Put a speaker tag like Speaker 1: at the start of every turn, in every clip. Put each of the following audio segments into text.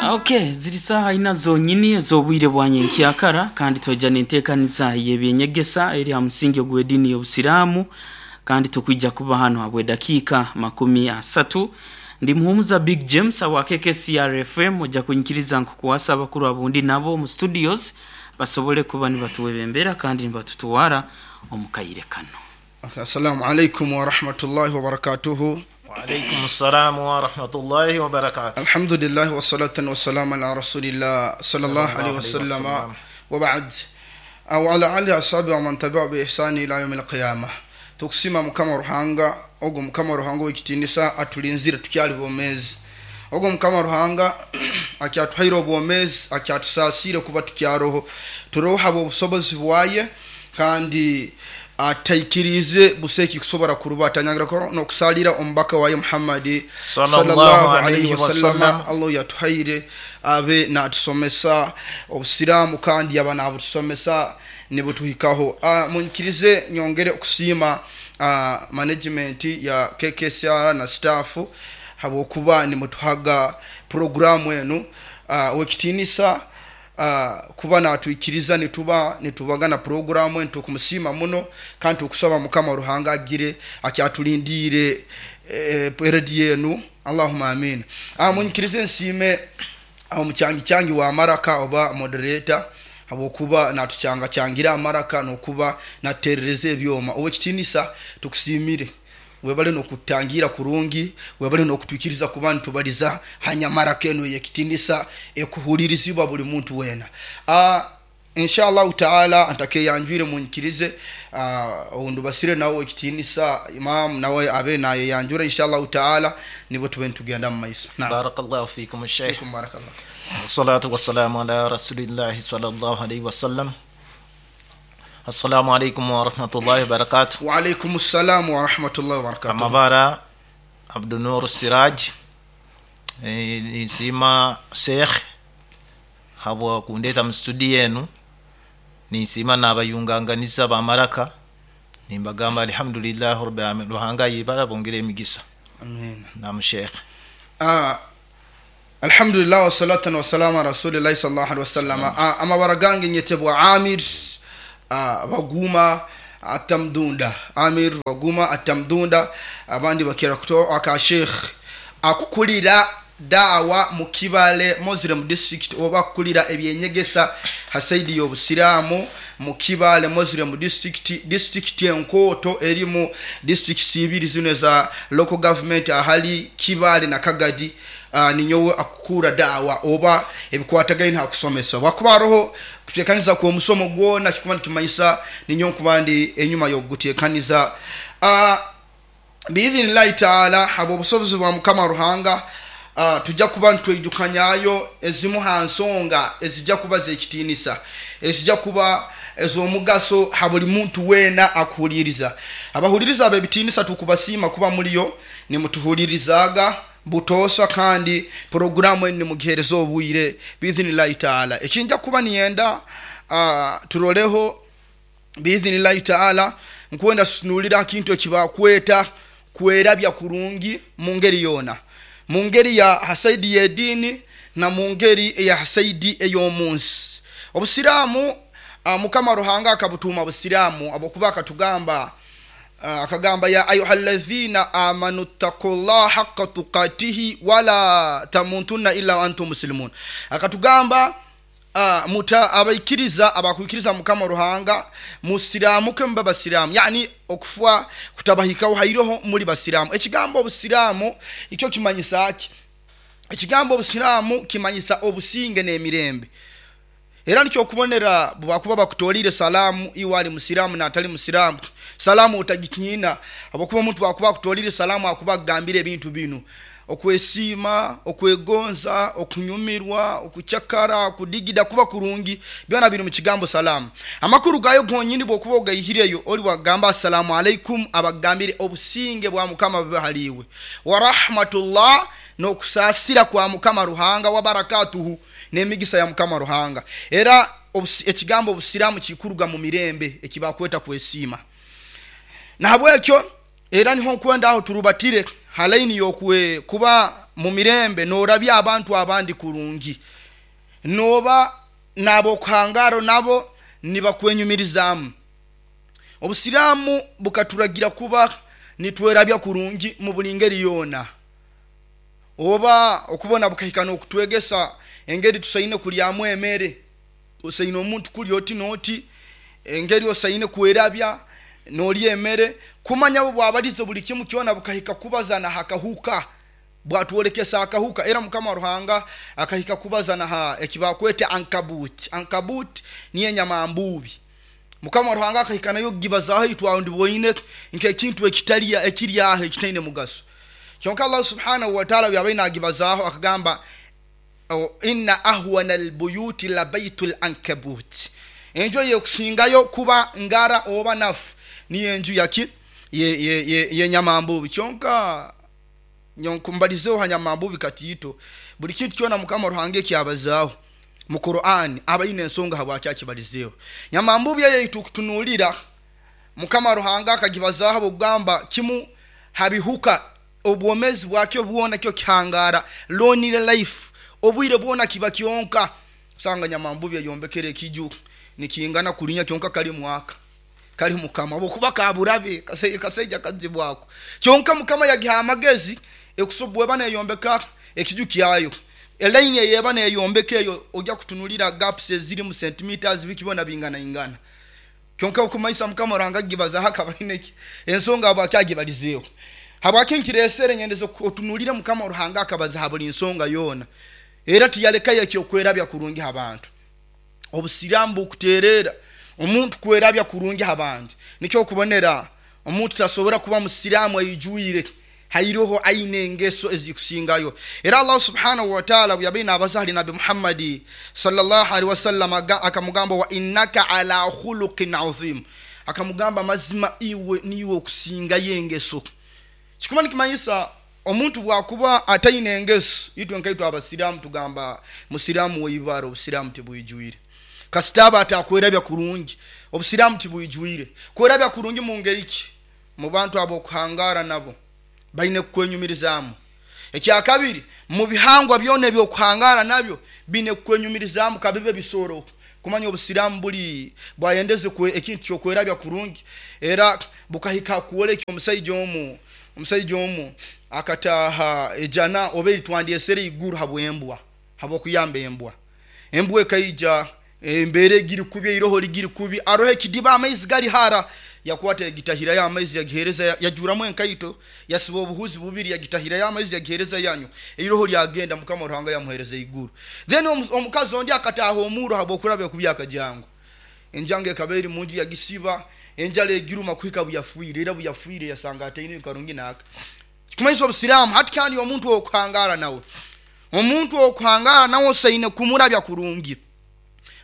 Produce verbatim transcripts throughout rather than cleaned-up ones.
Speaker 1: Okay, ziri saha ina zonyini ez'obwire bwa nyenkyakara, kandi twija n'enteekaniza y'ebyenyegesa eri ha musingi ogw'ediini y'Obusiraamu, kandi tukwija kuba hano habw'edakiika makumi asatu. Ndi Muhumuza Big James awa K K C R F M. Ojja kunyikiriza nkukwasa abakuru abundi nabo mu studios basobole kuba nibatuwebembera kandi nibatutwara omu kaire kano.
Speaker 2: Assalamu alaikum warahmatullahi wabarakatuhu.
Speaker 3: وعليكم السلام ورحمة الله وبركاته.
Speaker 2: الحمد لله والصلاة والسلام على رسول الله صلى الله عليه وسلم وبعد، وعلى آله وأصحابه ومن تبعه بإحسان إلى يوم القيامة. Tukusima Mukama Ruhanga, ogwo Mukama Ruhanga w'ekitiinisa atulinzire tukyali bwomeezi, ogwo Mukama Ruhanga akyatuhaire obwomeezi, akyatusaasiire kuba tukyaroho, turoho habw'obusobozi bwaye, kandi ataikirize buseki kusobora kurubata nyangira n'okusalira omubaka waye Muhammadi
Speaker 3: sallallahu alayhi wasallam.
Speaker 2: Allah yatuhaire abe natusomesa Obusiraamu, kandi yaba nabutusomesa nibutuhikaho. uh, munyikirize nyongere okusiima uh, management ya K K C R na staff habwokuba nimutuhaga programu enu. uh, wekitiinisa uh, kuba natwikiriza nituba nitubagana programu enu, tukumusiima muno, kandi tukusaba Mukama Ruhanga agire akyatulindiire eh, rediyo enu. Allahumma amin. uh, munyikirize nsiime omukyangi kyangi wa maraka oba moderator habwokuba natukyangacyangira amaraka nokuba naterereza ebyoma. Owekitiinisa, tukusiimire, webale nokutangira kurungi, webale nokutwikiriza kuba nitubaliza hanyamaraka eno yekitiinisa ekuhulirizibwa buli muntu wena. uh, inshallah taala ntakeyanjwire, munyikirize uh, ondubasire nawe ekitiinisa imam nawe abe nayeyanjura, inshallah taala nibo tube nitugenda mu maiso. Naam.
Speaker 3: بارك الله فيكم الشيخ.
Speaker 2: فيكم بارك الله.
Speaker 3: والصلاة والسلام على رسول الله صلى الله عليه وسلم. السلام عليكم ورحمة الله وبركاته.
Speaker 2: وعليكم السلام ورحمة الله وبركاته.
Speaker 3: Amabara Abdunur Siraj. Eh, nisima Sheikh habwa kundeta mu studio enu, nisima n'abayunganganiza bamaraka, nimbagamba alhamdulillah rabbil alamin, Ruhanga yibara bongere emigisa.
Speaker 2: Amin.
Speaker 3: Nam Sheikh.
Speaker 2: Ah, alhamdulillah wassalatu wassalamu ala rasulillahi sallallahu alaihi wasallam. Ah, amabara gange nyetebwa Amir ah, Baguma Atamdunda, Amir Baguma Atamdunda, abandi bakira kuto aka Sheikh akukulira daawa mu Kibale Muslim District, oba akukulira ebyenyegesa ha side y'Obusiraamu mu Kibale Muslim District, district enkooto erimu districts ibiri zino za local government ahali Kibale na Kagadi. uh, ninyowe akukura daawa oba ebikwatagaine hakusomesa, wakuba haroho kutekaniza kwa omusomo gwona kikuba nikimanyisa ninyowe nkuba ndi enyuma y'okugutekaniza. uh, biidhinillahi taala, habwa obusobozi bwa Mukama Ruhanga, uh, tujja kuba nitwijukanyayo ezimu ha nsonga ezijja kuba zekitiinisa, ezijja kuba ez'omugaso ha buli muntu weena akuhuliriza. Abahuliriza ab'ebitiinisa, tukubasiima kuba muliyo nimutuhulirizaaga butoosa, kandi poroguramu enu nimugihereza obwire biidhinillahi taala. Ekinja kuba niyenda uh, turoleho biidhinillahi taala, nkwenda tutunulira akintu ekibakweta kwerabya kurungi mu ngeri yoona, mu ngeri ya ha side y'ediini na mu ngeri eya ha side ey'omunsi. Obusiraamu, uh, Mukama Ruhanga akabutuuma Busiraamu habwokuba akatugamba, uh, akagamba: "Ya ayuha alladhina amanu ttaqullah haqqa tuqatihi wala tamutunna illa wa antum muslimun." Akatugamba, uh, muta abaikiriza, abakwikiriza Mukama Ruhanga, musiramuke mube basiraamu, yani okufa kutabahikaho hairoho muri basiraamu. Ekigambo Obusiraamu ikyo kimanyisa ki? Ekigambo Obusiraamu kimanyisa obusinge n'emirembe. Era nikyo okubonera bwakuba bakutolire salaamu, iwe ali musiraamu n'atali musiraamu, salaamu otagitiina, habwokuba omuntu bwakuba akutolire salaamu akuba akugambire ebintu bino: okwesiima, okwegonza, okunyumirwa, okucakara, okudigida, kuba kurungi, byona biri mu kigambo salaamu. Amakuru gayo gonyini bwokuba ogayihireyo, oli bwagamba "assalamu alaikum", abagambire obusinge bwa Mukama bube haliwe, wa rahmatullah, n'okusaasira kwa Mukama Ruhanga, wa barakatuhu, n'emigisa ya Mukama Ruhanga. Era obusi- ekigambo Obusiraamu kikuruga mu mirembe ekibakweta kwesiima. Nahabwekyo era niho nkwenda aho turubatire halaini yokwe kuba mu mirembe norabya abantu abandi kurungi, noba n'abokuhangaro nabo nibakwenyumirizaamu. Obusiraamu bukaturagira kuba nitwerabya kurungi mu buli ngeri yoona, oba okubona bukahika n'okutwegesa engeri tusaine kulyamu emere, osaine omuntu kulya oti n'oti, engeri osaine kwerabya n'olya emere, kumanya bo bwabalize buli kimu kyona bukahika kubaza na hakahuka, bwatwolekesa akahuka. Era Mukama Ruhanga akahika kubaza na ha ekibakwete ankabut. Ankabut niyo enyamambubi. Mukama Ruhanga akahika nayo kugibazaho itwawe ndibwoine nk'ekintu ekitaliya ekiri aho ekitaine mugaso. Kyonka Allah subhanahu wa ta'ala yabaire nagibazaho akagamba inna ahwana albuyuti la baitul ankabut, enju eyekusingayo kuba ngara oba nafu niyo enju yaki yenyamambubi. Kyonka nkumbalizeho hanyamambubi katiito, buli kintu kyona Mukama Ruhanga ekyabazaaho mu Qur'an abaine ensonga habwaki akibalizeeho. Nyamambubi eyo itukutunuulira Mukama Ruhanga akagibazaaho bwokugamba kimu habihuka obwomezi bwakyo bwona kyo kihangara lonely life, obwire bwona kiba kyonka. Sanga nyamambubi eyombekere ekiju nikingana kulinya kyonka kali mwaka kali Mukama bwokuba kaburabe kaseija kazibwako, kyonka Mukama yagiha amagezi ekusobwe bana eyombeka ekiju kyayo. Elaini eyeba neyombeka eyo ojja kutunulira gaps eziri mu centimeters bikibona bingana ingana. Kyonka okumaisa Mukama Ruhanga gibaza hakabaineki ensonga abo akyagibalizeeho. Habwaki nkiresere nyendeze otunulire Mukama Ruhanga akabaza ha buli nsonga yoona, era tiyalekayo ekyokwerabya kurungi abantu. Obusiraamu bukuterera omuntu kwerabya kurungi abantu. Nikyo okubonera omuntu tasobora kuba musiraamu aijwire hairoho aine engeso ezikusingayo. Era Allah subhanahu wa ta'ala bwe abaza hali Nabi Muhammadi sallallahu alaihi wasallam akamugamba wa innaka ala khuluqin azim, akamugamba mazima iwe niwe okusingayo engeso. Kikuma nikimanyisa omuntu bwakuba ataine engeso, itwe nkaitwe abasiraamu tugamba musiraamu weibara obusiraamu tibwijwire. Kasitaba atakwerabya kurungi obusiraamu tibwijwire. Kwerabya kurungi mu ngeri ki? Mu bantu abokuhangara nabo baine kukwenyumirizaamu. Ekyakabiri, mu bihangwa byona ebyokuhangara nabyo bine kukwenyumirizaamu kabibe bisoro. Kumanya obusiraamu buli bwayendeze ekintu kyokwerabya kurungi. Era bukahika kuoleka omusaija omu, omusaija omu akataha ejana oba eritwandyesere iguru habwembwa, habwokuyamba embwa. Embwa ekaija embere egiri kubi, eiroho ligiri kubi, aroho ekidiba amaizi gali hara, yakwata yagitahirayo amaizi yagihereza, yajuramu enkaito, yasiba obuhuzi bubiri yagitahirayo amaizi yagihereza yanyu, eiroho lyagenda. Mukama Ruhanga yamuhereza iguru. Then omukazi ondi akataha omuro habwokurabya kubi akajango, enjango ekaba eri munju yagisiba, enjala egiruma kuhika buyafuire, era buyafuire yasanga ataine karungi naka. Kikumanyisa obusiraamu hati kandi omuntu okuhangara nawe, omuntu okuhangara nawe osaine kumurabya kurungi.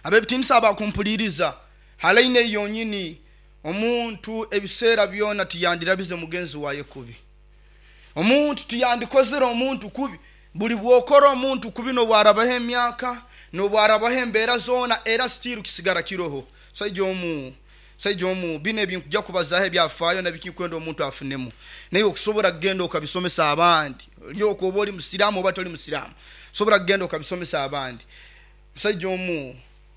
Speaker 2: Abebitinisa abakumpuliriza halaine yonyini omuntu ebiseera byona tiyandirabize mugenzi waye kubi, omuntu tiyandikozere omuntu kubi. Buli bwokora omuntu kubi nobwarabaho emyaka nobwarabaho embeera zoona, era still kisigara kiroho. Saija omu saija omu bino ebinkujja kubazaho ebyafaayo nabikinkwenda omuntu afunemu, naye okusobola kugenda okabisomesa abandi, lyoka oba oli musiraamu oba toli musiraamu, osobola kugenda okabisomesa abandi. Musaija omu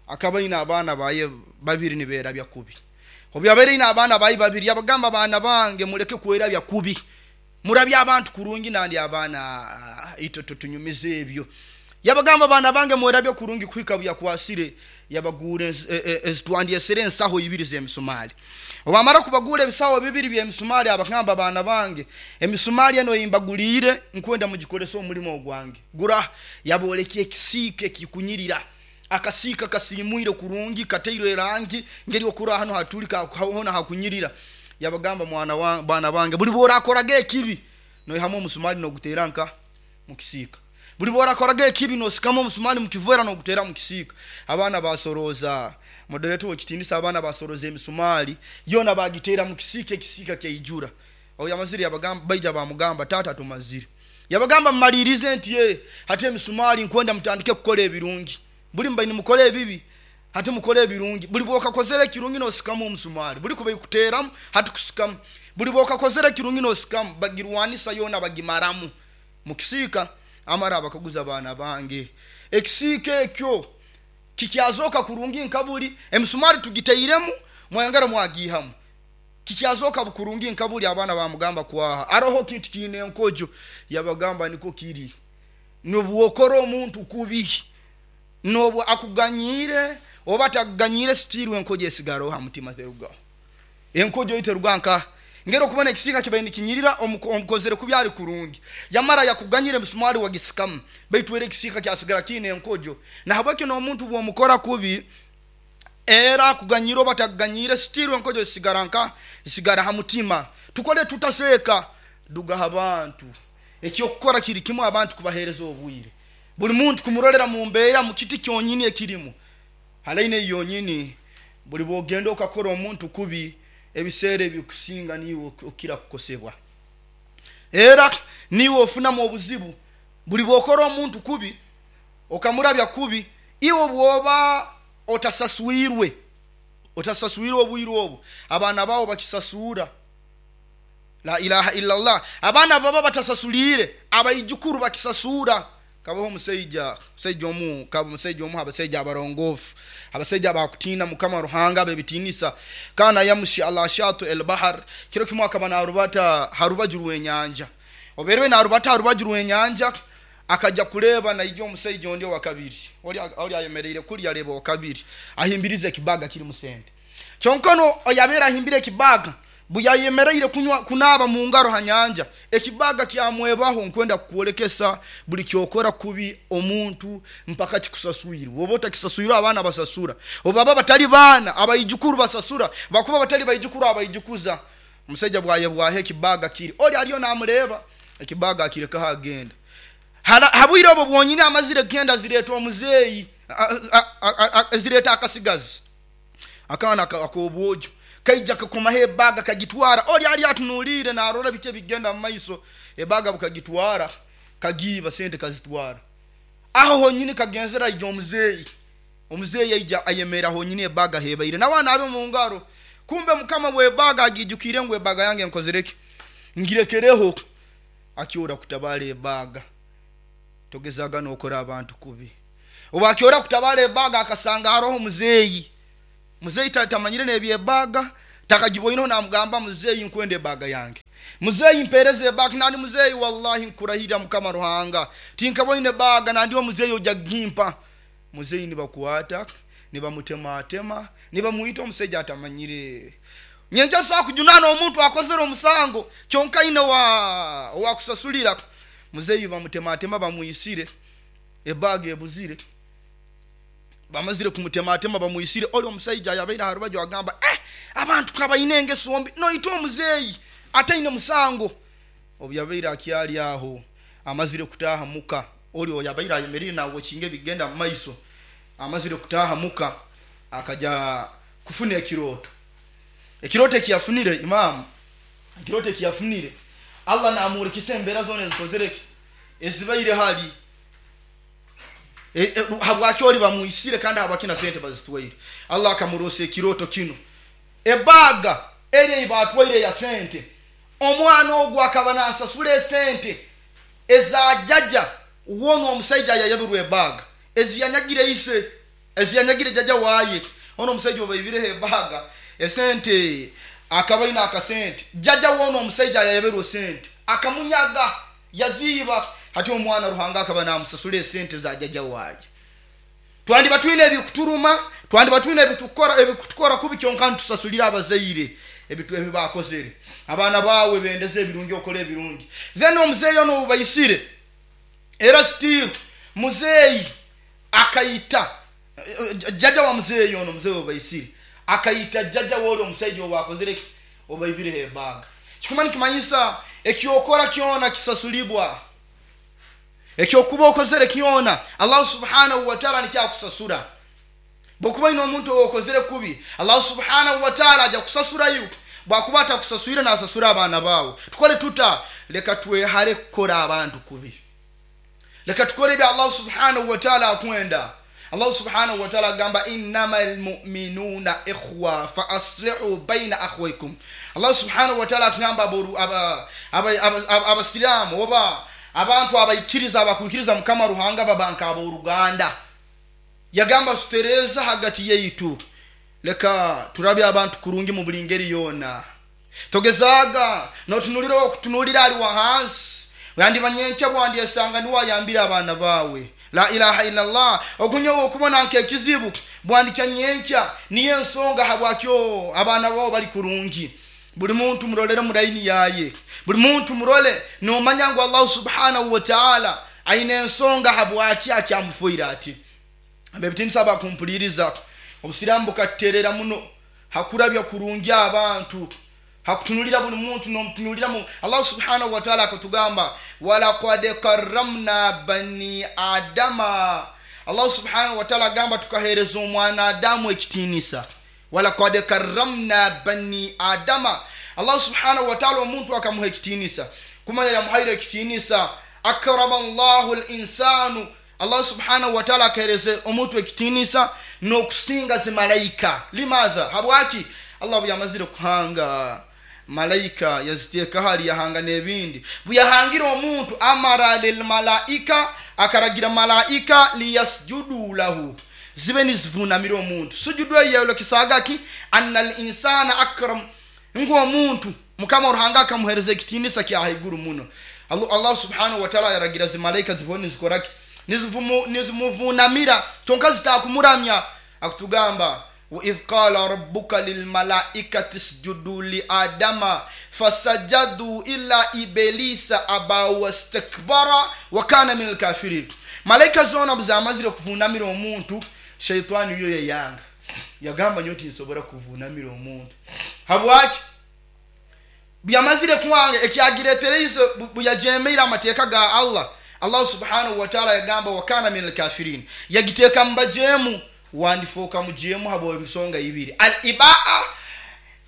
Speaker 2: akaba aine abaana baye babiri nibeerabya kubi. Obu yabaire aine abaana baye babiri yabagamba, abaana bange muleke kwerabya kubi, murabye abantu kurungi nandi abaana itwe tutunyumize ebyo. Yabagamba abaana bange mwerabye kurungi kuhika buyakwasire yabagura ezitwandyesere ensaho ibiri z'emisumali. Obamara kubagura ebisaho bibiri by'emisumali, abagamba abaana bange emisumali eno eyimbaguliire nkwenda mugikorese omulimo ogwange. Gura yabolekya ekisiika ekikunyirira, akasiika kasimwire kurungi kateirwe erangi ngeri okura hano hatuli hona hakunyirira. Yabagamba mwana wa bana bange buli bworakoraga ekibi noihamu omusumali nogutera nka mukisiika, buli bworakoraga ekibi nosikamu omusumali mukivera nogutera mukisiika. Abaana basoroza moderator wekitinisa, abaana basoroza emisumali yona bagitera mukisiika, ekisiika kyaijura. Oyo yamazire yabagamba, baija bamugamba tata tumazire. Yabagamba mmalirize nti ye hati emisumali nkwenda mutandike kukora ebirungi, buli mbaini mukore ebibi hati mukore ebirungi. Buli bwokakozere ekirungi nosikamu omusumali, buli kuba ikuteramu hati kusikamu, buli bwokakozere ekirungi nosikamu. Bagirwanisa yona bagimaramu mukisiika. Amara abakaguza abaana bange, ekisiika ekyo kikyazoka kurungi nkabuli, emisumari tugiteiremu mwayongera mwagihamu, kikyazoka bukurungi nkabuli. Abaana bamugamba kwaha aroho kintu kiine enkojo. Yabagamba niko kiri, nobwokora omuntu kubi, nobu akuganyire oba takuganyire, sitirwe enkojo esigaroho ha mutima terugaho. Enkojo iteruga nka ngero okubona ekisiika kibaire nikinyirira, omukozere kubi ali kurungi, yamara yakuganyire emisumari wagisikamu, baitu era ekisiika kyasigara kiine enkojo. Nahabwekyo n'omuntu bwomukora kubi, era akuganyire oba takuganyire, sitirwe enkojo zisigara nka zisigara ha mutima. Tukole tutaseeka dugaha abantu ekyokukora kiri kimu, abantu kubahereza obwire, buli muntu kumurolera mu mbeera mu kiti kyonyini ekirimu halaine yonyini. Buli bwogenda okakora omuntu kubi, ebiseera ebikusinga niwe okira kukosebwa, era niwe ofunamu obuzibu. Buli bwokora omuntu kubi okamurabya kubi, iwe bwoba otasaswirwe, otasaswirwe obwire obu, abaana bawo bakisasura. La ilaha illallah. Abaana baba batasasulire, abaijukuru bakisasura. Kabaho omusaija, omusaija omu, kaba omusaija omu, abasaija abarongofu, abasaija abakutina Mukama Ruhanga bebitinisa. Kana yamushi ala shatu el bahar, kiro kimwe akaba narubata harubaju rw'enyanja. Oberwe narubata harubaju rw'enyanja, akaja kuleba naija omusaija ondi wa kabiri, oli oli ayemereire kuli areba wa kabiri ahimbirize ekibaga kiri musente. Kyonkono oyabera ahimbire ekibaga, buyayemereire kunywa kunaba mu ngaro ha nyanja, ekibaga kyamwebaho. Nkwenda kukwolekesa buli kyokora kubi omuntu mpaka kikusaswire. Woba otakisaswire, abaana basasura, obaba batali baana abaijukuru basasura, bakuba batali baijukuru abaijukuza. Omusajja bwayebwaho ekibaga kiri, oli aliyo namureba ekibaga akirekaho agenda. Habwire obwo bwonyini amazire kugenda, zireeta omuzeeyi, zireta akasigazi akaana ak'obwojo, kaija kakomaho ebaga kagitwara. Oli ali atunuulire narora biki ebigenda mu maiso, ebaga bukagitwara, kagiiba sente kazitwara. Aho honyini kagenzera aija omuzeeyi, omuzeeyi aija ayemera honyini ebaga hebaire nawe anaabe mu ngaro. Kumbe Mukama bw'ebaga agijukire ngu ebaga yange nkozereki, ngirekereho. Akyora kutabala ebaga, togezaga nokora abantu kubi. Oba akyora kutabala ebaga, akasanga haroho omuzeeyi. Muzeeyi tamanyire n'ebyebaga, takagiboineho. Namugamba, muzeeyi nkwenda ebaga yange, muzeeyi mpereza ebaga. Nandi muzeeyi, wallahi nkurahirira Mukama Ruhanga tinkaboine ebaga, nandi omuzeeyi ojja gimpa. Muzeeyi nibakwata nibamutematema nibamuita. Omusajja atamanyire nyenja sobola kujunana omuntu akozere omusango, kyonka ine wa wakusasulira. Muzeeyi bamutematema bamuyisire, ebaga ebuzire. Bamazire kumutematema bamuyisire, oli omusajja yabaire aha rubaju agamba, eh, abantu kabaine engeso mbi, noita omuzeeyi ataine musango. Obu yabaire akyali aho, amazire kutaaha muka, oli oyo yabaire ayemerire nawokinga ebigenda mu maiso, amazire kutaaha muka akaja kufuna ekirooto. Ekirooto ekiyafunire imamu, ekirooto ekiyafunire, Allah namurekisa embeera zoona ezikozereki ezibaire hali e, e, habwaki oli bamwisire kandi habwaki na sente bazitwaire. Allah akamurosa ekirooto kino, ebaga eri eibatwaire ya sente, omwana ogwo akaba nasasura esente ezajaja wonu omusaija yayabirwe ebaga eziyanyagire ise, eziyanyagire jaja waye. Ono omusaija obaibireho ebaga esente, akaba aine akasente, jaja wono omusaija yayabirwe sente akamunyaga yaziiba. Hati omwana Ruhanga akaba namusasura esente za jaja waye. Twandiba twine ebikuturuma, twandiba twine ebitukora ebikutukora kubi, kyonka ntusasulira abazaire ebitu ebibakozere. Abaana bawe bendeze ebirungi, okole ebirungi. Then omuzeeyi ono obubayisire, era still muzeeyi akayita jaja wa muzeeyi ono, muzeeyi obubayisire akayita jaja woli omusaija obakozere obaibireho ebaga. Kikuma nikimanyisa ekyokora kyona kisasulibwa, ekyokuba okozere kyona Allah subhanahu wa ta'ala nikyakusasura. Bwokuba ine omuntu okozere kubi, Allah subhanahu wa ta'ala aja kusasurayo. Bwakuba atakusaswire, nasasura abaana bawe. Tukole tuta? Leka twehale kukora abantu kubi, leka tukole ebya Allah subhanahu wa ta'ala akwenda. Allah subhanahu wa ta'ala agamba, innamal mu'minuna ikhwa fa aslihu baina akhwaykum. Allah subhanahu wa ta'ala akugamba abasiraamu oba Abantu abaikiriza abakwikiriza Mukama Ruhanga babanka ab'oruganda. Yagamba tutereza hagati yaitu, leka turabye abantu kurungi mu buli ngeri yona. Togezaga notunulira okutunulira ali wahansi, yandi banyenkya bwandi esanga niwayambira abaana bawe. La ilaha illallah. Okunyowa okubona nkekizibu bwandikya nyenkya niyo ensonga habwakyo abaana bawe bali kurungi. Buli muntu murolere muraini yaye, buli muntu murole nomanya ngu Allah subhanahu wa ta'ala aine ensonga habwaki akyamufuira ati. Abebitinisa bakumpuliriza, obusiramu bukaterera muno hakurabya kurungi abantu, hakutunulira buli muntu nomutunulira mu Allah subhanahu wa ta'ala akatugamba walaqad karramna bani adama. Allah subhanahu wa ta'ala agamba tukahereza omwana Adamu ekitinisa. Walaqad karramna bani adama. Allah subhanahu wa ta'ala omuntu akamuha ekitinisa, kumanya yamuhaire ekitinisa. Akrama Allahu al-insanu. Allah subhanahu wa ta'ala akahereza omuntu ekitinisa n'okusinga zimalaika. Limadha? Habwaki? Allah buyamazire kuhanga malaika yaziteeka hali yahanga n'ebindi. Buyahangira omuntu amara lilmalaika, akaragira malaika liyasjudu lahu, zibe nizivunamira omuntu. Sujudu eyo kisagaki anna al-insana akram, ngu omuntu Mukama Ruhanga akamuhereza ekitinisa kya haiguru muno. Allah, Allah subhanahu wa ta'ala yaragira zimalaika zibone zikoraki nizivumu nizimuvunamira tonka zitakumuramya. Akutugamba wa idh qala rabbuka lilmalaikati isjudu li adama fasajadu illa iblisa aba wastakbara wa kana minal kafirin. Malaika zona buzamazire kuvunamira omuntu, shaitani yo yayanga yagamba nyoti nsobora kuvunamira omuntu. Habwaki? Byamazire kwanga ekyagiretereize buyajemeira amateeka ga Allah. Allah subhanahu wa ta'ala yagamba wa kana minal kafirin, yagiteeka mbajemu wandifoka mujemu habo emisonga ibiri. Al-ibaa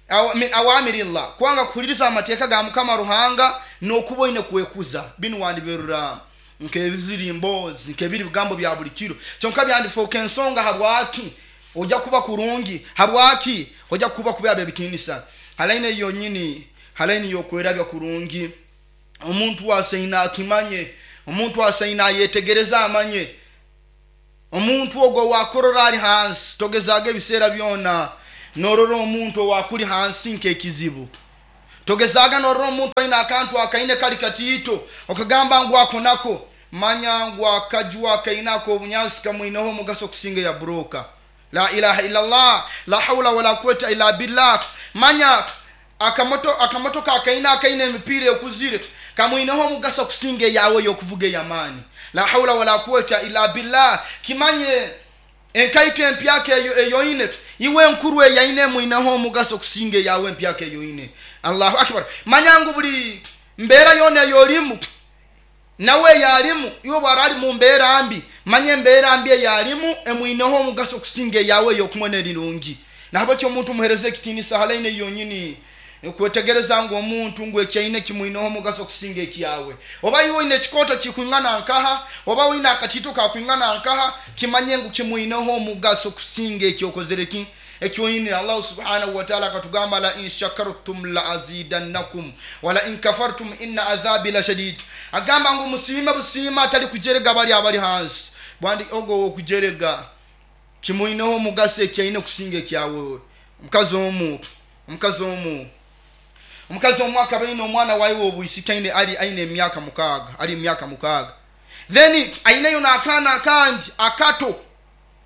Speaker 2: aw, min awamirillah, kwanga kuhuliriza amateeka ga Mukama Ruhanga n'okuba oine kwekuza. Binu wandiberura nk'ebizirimbo nk'ebiri bigambo bya buli kiro, kyonka byandifoka ensonga habwaki ojja kuba kurungi, habwaki ojja kuba kuba ebitinisa. Halaine yonyini halaini yokwerabya kurungi. Omuntu waseina akimanye, omuntu waseina ayetegereza amanye. Omuntu ogwo wakorora ali hansi, togezaga ebiseera byona norora omuntu owakuli hansi nk'ekizibu. Togezaga norora omuntu aine akantu akaine kali katiito okagamba ngu ako nako, manya ngu akajwa akainako obunyansi kamwineho omugaso kusinga ya buroka. La ilaha illallah, la hawla wala quwwata illa billah. Manya akamoto akamotoka akaina akaine emipiira ekuzire kamwineho omugaso kusinga yawe yokuvuga yamani. La hawla wala quwwata illa billah. Kimanye enkaito empyaka eyo eyoine iwe nkuru eyaine mwineho omugaso kusinga yawe empyaka eyoine. Allahu akbar. Manyangu buli mbeera yona yolimu nawe yalimu iwe bwarali mu mbeera mbi, manye mbeera mbi eyalimu emwineho omugaso kusinga yawe yokumona erirungi. Nahabwekyo omuntu muhereze ekitinisa halaine yonyini kwetegereza ngu omuntu ngu ekyaine kimwineho omugaso kusinga ekyawe. Oba iwe oine ekikoto kikwingana nkaha, oba oine akatito kakwingana nkaha, kimanye ngu kimwineho omugaso kusinga ekyokozere ki ekyoine. Allah subhanahu wa ta'ala akatugamba la in shakartum la azidannakum wa la in kafartum inna adhabi la shadid. Agamba ngu musiime busiima atali kujerega bali abali hansi, bwandi ogo okujerega kimwineho omugaso ekyaine kusinga ekyawe. Omukazi omu omukazi omu omukazi omu akaba aine omwana wawe obwisiki aine ali aine emyaka mukaaga, ali emyaka mukaaga. Then aineyo n'akaana akandi akato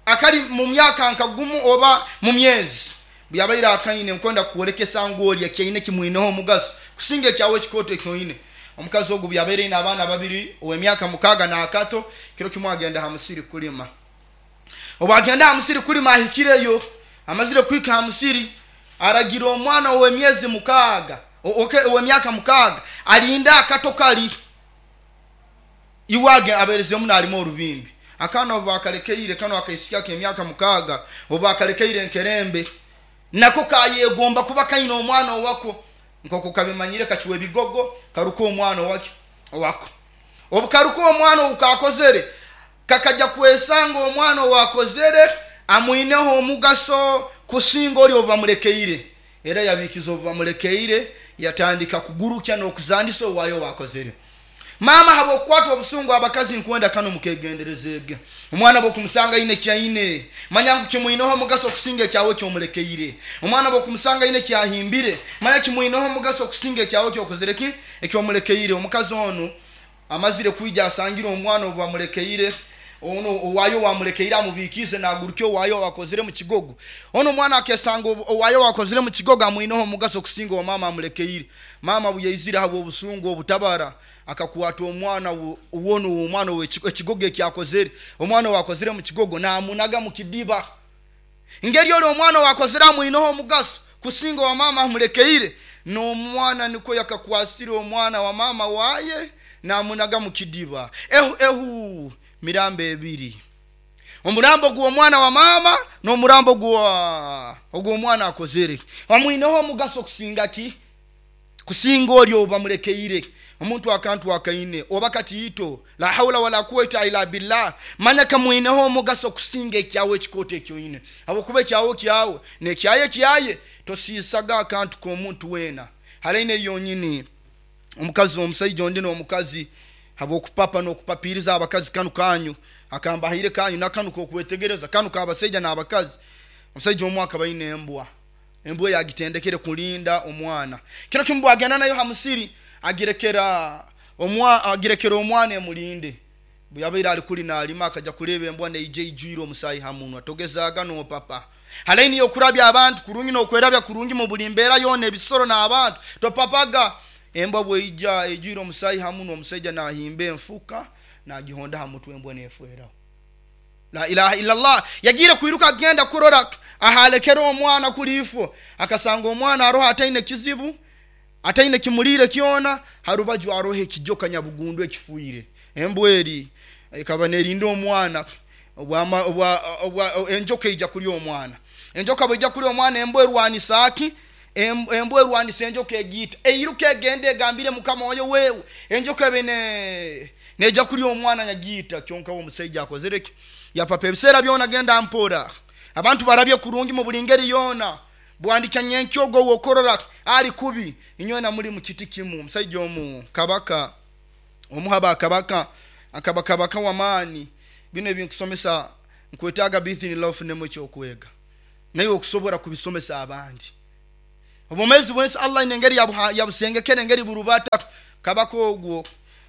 Speaker 2: akali mu myaka nkagumu oba mu myezi. Byabaire akaine nkwenda kuolekesa ngu oli ekyaine kimwineho omugaso kusinga ekyawe ekikoto ekyoine. Omukazi ogu byabaire aine abaana babiri ow'emyaka mukaaga n'akato. Kiro kimwe agenda ha musiri kulima. Obu agenda ha musiri kulima ahikireyo, amazire kuhika ha musiri aragira omwana ow'emyezi mukaaga, ow'emyaka mukaaga alinda akato kali iwage aberezemu n'alimu orubimbi. Akaana obu bakalekeire kano akaisiki ak'emyaka mukaaga obu bakalekeire enkerembe nako kayegomba kuba kaine omwana owako, nkoko kabimanyire kakiwa ebigogo karuka omwana owaki owako. Obu karuka omwana owukakozere kakajja kwesanga omwana owakozere amwineho omugaso kusinga oli obu bamulekeire. Era yabikiza obu bamulekeire yatandika kugurukya n'okuzandisa owaayo wakozere. Mama habwokukwatwa obusungu abakazi nkwenda kano mukegenderezege. Omwana bwokumusanga ine kyaine manya ngu kimwineho omugaso okusinga ekyawe kyomulekeire. Omwana bwokumusanga ine kyahimbire manya kimwineho omugaso okusinga ekyawe kyokozereki ekyomulekeire. Omukazi onu amazire kwija asangire omwana obu bamulekeire, ono owayo wamulekeire amubikize nagurukyo owayo wakozire mu kigogo. Ono omwana akesanga owayo wakozire mu kigogo amwineho omugaso okusinga omama amulekeire. Mama buyaizire habwo obusungu obutabara akakwata omwana wono omwana ekigogo ekyakozere, omwana wakozire mu kigogo namunaga mu kidiba. Ngeri oli omwana wakozere amwineho omugaso kusinga wa mama amulekeire, n'omwana niko yakakwasire omwana wa mama waye namunaga mu kidiba. Ehu ehu mirambo ebiri, omurambo gw'omwana wa mama n'omurambo gwa ogw'omwana akozere amwineho omugaso kusinga ki? Kusinga oli obamulekeire. Omuntu akantu akaine oba katiito la haula wala quwwata illa billah, manya kamwineho omugaso kusinga ekyawe ekikoto ekyoine, habwokuba ekyawe kyawe nekyaye kyaye. Tosiisaga akantu k'omuntu weena halaine yonyini. Omukazi omusaija ondi n'omukazi habwokupapa n'okupapiriza abakazi kanu kanyu akambahaire kanyu nakanu kokwetegereza kanu kabasaija n'abakazi. Omusaija omu akaba aine embwa, embwa yagitendekere kulinda omwana. Kiro kimu bwagenda nayo ha musiri agirekera omwa agirekera omwana emulinde. Bwe yabaire ali kuli nalima akaja kuleba embwa neija ijwire omusaayi ha munwa. Togezaaga n'opapa halaini yokurabya abantu kurungi n'okwerabya kurungi mu buli mbeera yoona ebisoro n'abantu topapaga. Embwa bweija ijwire omusaayi ha munwa, omusaija nahimba enfuka nagihonda ha mutwe embwa nefweraho. La ilaha illallah. Yagiire kwiruka agenda kurora ahalekera omwana kulifo, akasanga omwana aroho ataine kizibu, ataine kimulire kyona, harubaju aroho ekijoka nyabugundu ekifuire. Embwa eri ekaba nerinda omwana obwa obwa enjoka ija kulya omwana. Enjoka bweija kulya omwana embwa erwanisa ki? Embwa erwanisa enjoka egiita eiruka egende egambire mukama oyo wewe enjoka bene neja kulya omwana nyagiita. Kyonka omusaija akozereki? Yapapa ebiseera byona genda mpora abantu barabye kurungi mu buli ngeri yona. Bwandika nyenkyogo wokorora ali kubi inywena muri mu kiti kimu. Omusaija omu kabaka omuhaba kabaka akaba kabaka wamaani. Bino ebinkusomesa nkwetaaga bithinillah ofunemu ekyokwega naye okusobola kubisomesa abandi. Obumezi bwensi Allah ine engeri yabusengekere engeri burubata. Kabaka ogwo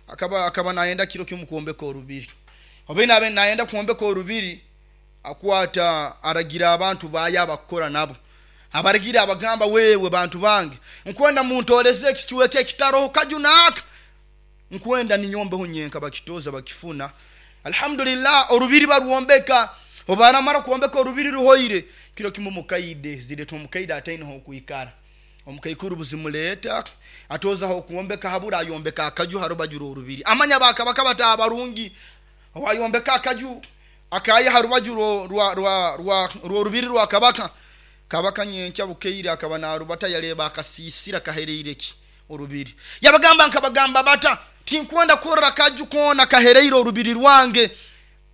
Speaker 2: akaba akaba naenda kiro kimu kuombeka orubiri, oba nabe naenda kuombeka orubiri akwata aragira abantu baaya abakora nabo, abaragira abagamba wewe bantu bange nkwenda muntoleze ekichweke ekitaroho kajunaka nkwenda ninyombeho nyenka. Bakitoza bakifuna alhamdulillah orubiri barwombeka. Obaramara kuombeka orubiri ruhoire kiro kimu mukaide zireta omukaide ataineho okuikara omukaikuru buzimuleta atozaho okuombeka habura ayombeka akaju harubajura orubiri. Amanya bakabaka batabarungi owayombeka akaju akaya harubaju rwa rwa rwa rwa rubiri rwa kabaka. Kabaka nyenkya bukeire akaba narubata yareba akasisira kahereireki orubiri. Yabagamba nkabagamba bata tinkwenda kurora kaju kona kahereire orubiri rwange.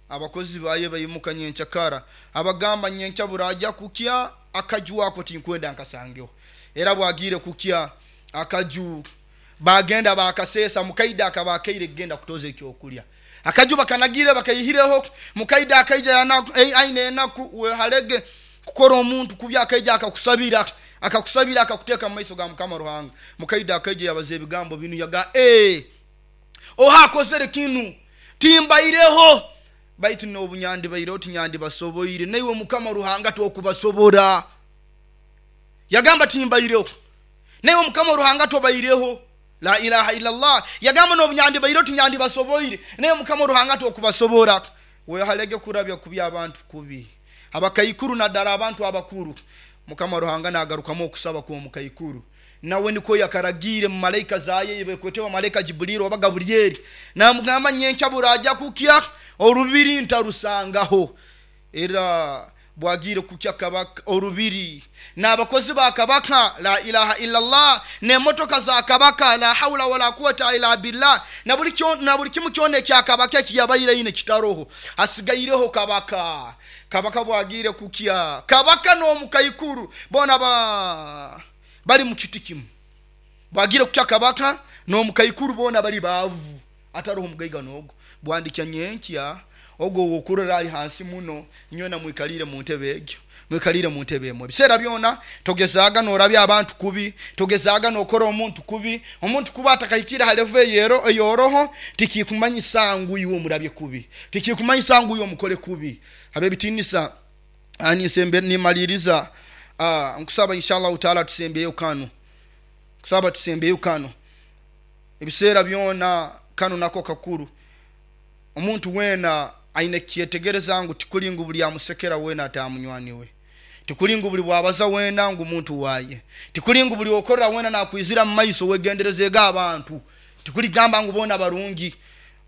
Speaker 2: Abakozi baye bayimuka nyenkya kara abagamba nyenkya buraja kukya akaju ako tinkwenda nkasangeho. Era bwagire kukya akaju bagenda bakasesa mukaida akabakaire genda kutoza ekyokulya. Akaju bakanagire bakayihireho mukaida akaija aine enaku wehalege kukora omuntu kubya akaija akakusabira akakusabira akakuteka mu maiso ga Mukama Ruhanga. Mukaida akaija yabaza ebigambo binu yaga eh oha akozere kinu timbaireho baitu n'obunyandi baireho tinyandi basoboire naiwe Mukama Ruhanga tokubasobora. Yagamba timbaireho naiwe Mukama Ruhanga tobaireho. La ilaha illallah. Yagamba n'obunyandi baireho tinyandi basoboire naye Mukama Ruhanga tokubasobora. Wehalege kurabya kubya abantu kubi abakaikuru naddala abantu abakuru. Mukama Ruhanga nagarukamu okusaba kw'omukaikuru nawe niko yakaragire mu malaika zaye bekwetebwa malaika Jibril oba Gabrieli namugamba nyenkya buraja kukya orubiri ntarusangaho. Era bwagire kukya kabaka orubiri n'abakozi ba kabaka la ilaha illallah n'emotoka za kabaka la haula wala quwwata illa billah na buli kyo na buli kimu kyona ekya kabaka ekiyabaire ine kitaroho hasigaireho kabaka. Kabaka bwagire kukya kabaka n'omukaikuru bona ba bali mu kiti kimu. Bwagire kukya kabaka n'omukaikuru bona bali bavu Ataroho mugaiga nogo bwandikya nyenkya ogwo wokurora ali hansi muno nywena mwikalire mu ntebe egyo mwikalire mu ntebe emwe. Biseera byona togezaga norabya abantu kubi, togezaga nokora omuntu kubi. Omuntu kuba atakahikira ha level eyero eyoroho tikikumanyisa ngu iwe omurabye kubi, tikikumanyisa ngu iwe omukole kubi. Habe bitinisa ani sembe nimaliriza ah nkusaba inshallah taala tusembeyo kano, kusaba tusembeyo kano. Ebiseera byona kano nako kakuru. Omuntu wena aine kyetegereza ngu tikulingu buli amusekera wena atamunywaniwe, tikulingu buli bwabaza wena ngu muntu waye, tikulingu buli okorera wena nakwizira mu maiso wegenderezega abantu, tikuligamba ngu bona barungi.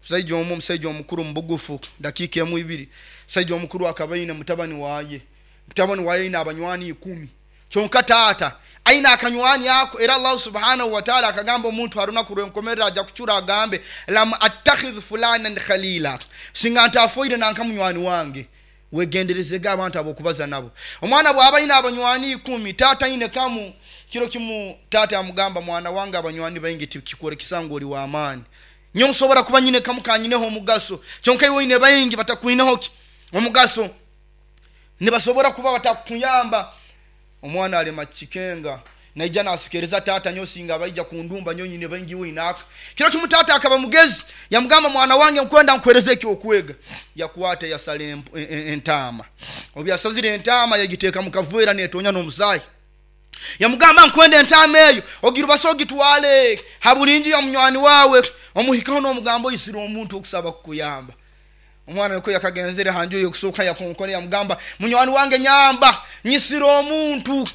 Speaker 2: Musajja omu, omusajja omukuru mubugufu dakika emu ibiri, musajja omukuru akabaine mutabani waye, mutabani waye ina abanywani ikumi, kyonka taata aina akanywani ako. Era Allah subhanahu wa ta'ala akagamba omuntu haruna kurwenkomerera aja kuchura agambe lam attakhidh fulanan khalila, singa ntafoire nanka munywani wange. Wegenderezega abantu abokubaza nabo. Omwana bwaba ina abanywani ikumi, taata ine kamu kiro kimu taata amugamba mwana wange abanywani baingi tikikore kisango oli wa amani, nyo nsobora kuba nyine kamu kanyineho omugaso, kyonka iwe ine baingi batakuineho omugaso, nibasobora kuba batakuyamba. Omwana alema chikenga naija nasikereza tata nyosinga baija kundumba nyonyine baingi we inaka. Kiro kimu tata akaba mugezi yamugamba mwana wange nkwenda nkwereze ekyokwega. Yakwata yasale entama, obyasazire entama yagiteka mukavwera netonya n'omusayi. Yamugamba nkwenda entama eyo ogirubaso ogitwale habulinji ya munywani wawe omuhikaho n'omugambo isira omuntu okusaba kukuyamba. Omwana yuko yakagenzere hanjo yokusoka yakonkone yamugamba munywani wange nyamba nyisira omuntu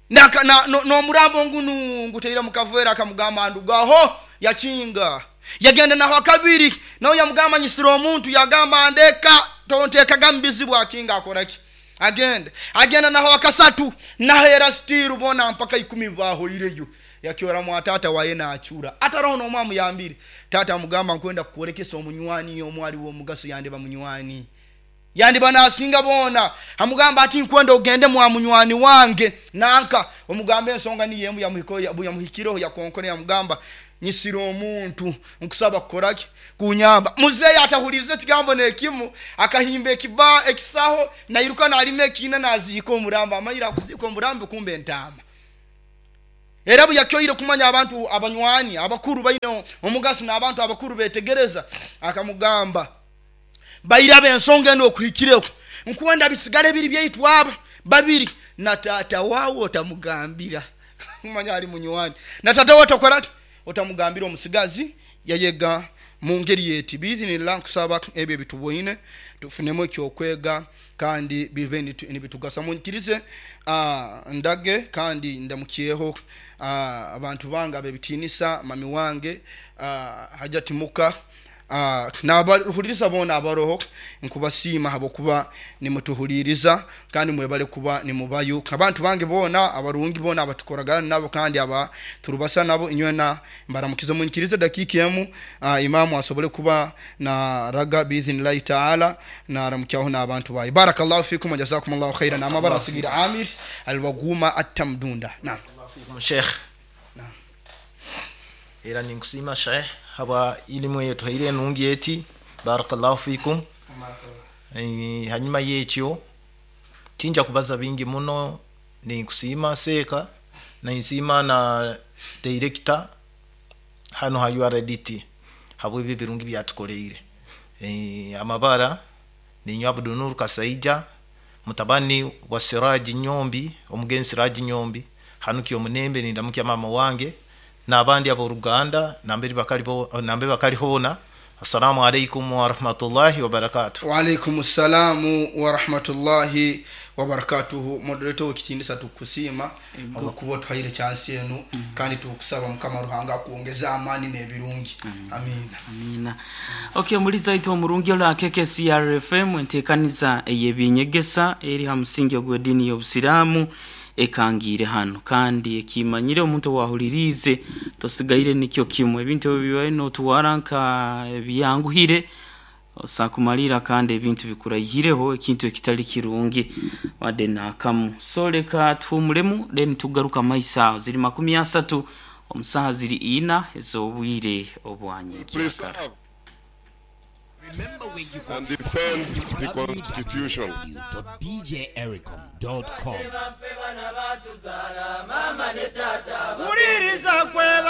Speaker 2: naka na no murambo ngunu nguteira mukavwera. Akamugamba ndugaho yakinga. Yagenda naho akabiri naho yamugamba nyisira omuntu, yagamba ndeka tonteka gambizi bwakinga akoraki agenda agenda naho akasatu nahera stiru bona mpaka ikumi baho ireyo. Yakiora mwatata waye na achura ataroho no mwamu yambiri. Tata amugamba nkwenda kukurekesa omunywani omwali wo mugaso yande bamunywani yandi bana asinga bona. Amugamba ati nkwenda ogende mwa munywani wange nanka omugambe ensonga ni yemu yamuhiko yamuhikireho yakonkone. Yamugamba nyisira omuntu nkusaba kukoraki kunyamba. Muzeyi atahulize kigambo nekimu akahimba ekiba ekisaho nairuka nalime ekina nazika omuramba amayira kuzika omurambi kumbe entama. Era yakyoire kumanya abantu abanywani abakuru baino omugaso n'abantu abakuru betegereza. Akamugamba bayirabe ensonga eno okuhikireko nkwenda bisigale biri byeitwaba babiri na tata wawo otamugambira kumanya ali munywani na tata wawo otakora otamugambira. Omusigazi yayega mu ngeri yeti biizinillah nkusaba ebyo bituboine tufunemu ekyokwega kandi bibe nibitugasa. Munkirize uh, ndage kandi ndamukyeho uh, abantu bange abebitinisa mami wange uh, Hajati Muka uh, n'abaruhuliriza bona abaroho nkubasiima habokuba nimutuhuliriza kandi mwebale kuba nimubayo. Abantu bange bona abarungi bona abatukoragana nabo kandi aba turubasa nabo inywena mbaramukize. Munkirize dakika emu uh, imamu asobole kuba na raga biidhnillahi taala na ramukyaho n'abantu bayi. Barakallahu fikum wa jazakumullahu khairan. Amabara sigira Amir alwaguma atamdunda. Naam
Speaker 3: fikum sheikh.
Speaker 2: Naam
Speaker 3: era ninkusima sheikh haba ilimu yetu haire nungi yeti. Barakallahu fikum. E, hanyuma yekyo tinja kubaza bingi muno. Ninkusima seka na insima na director hano ha U R D T habwe ibi birungi byatukoleire. E, amabara ni Abdunur Kasaija mutabani wa Siraji Nyombi omugenzi Siraji Nyombi hanuki omunembe nindamukya mama wange n'abandi aboluganda namberi bakalibo nambe bakalihona. Assalamu alaikum wa rahmatullahi wa barakatuh.
Speaker 2: Wa alaikum assalamu wa rahmatullahi wa barakatuh. Moderator wekitindisa tukusima okuba tuhaire chance enu mm. kandi tukusaba mukama Ruhanga kuongeza amani n'ebirungi. Amina.
Speaker 1: Amina. Okay, muliza ito omurungi ola K K C R F M entekaniza ey'ebinyegesa eri ha musingi ogw'edini y'Obusiraamu ekangire hano kandi ekimanyire omuntu wahulirize tosigaire nikyo kimwe ebintu bibaye no tuwaranka byanguhire osakumalira kandi ebintu bikurayireho ekintu ekitali kirungi wade nakamu. So leka tuhumulemu then tugaruka maisa ziri makumi asatu omusaha ziri ina ezobwire obwanye kyakara.
Speaker 4: And defend the Constitution.
Speaker 5: w w w dot d j ericom dot com.
Speaker 6: Wuliriza kwe.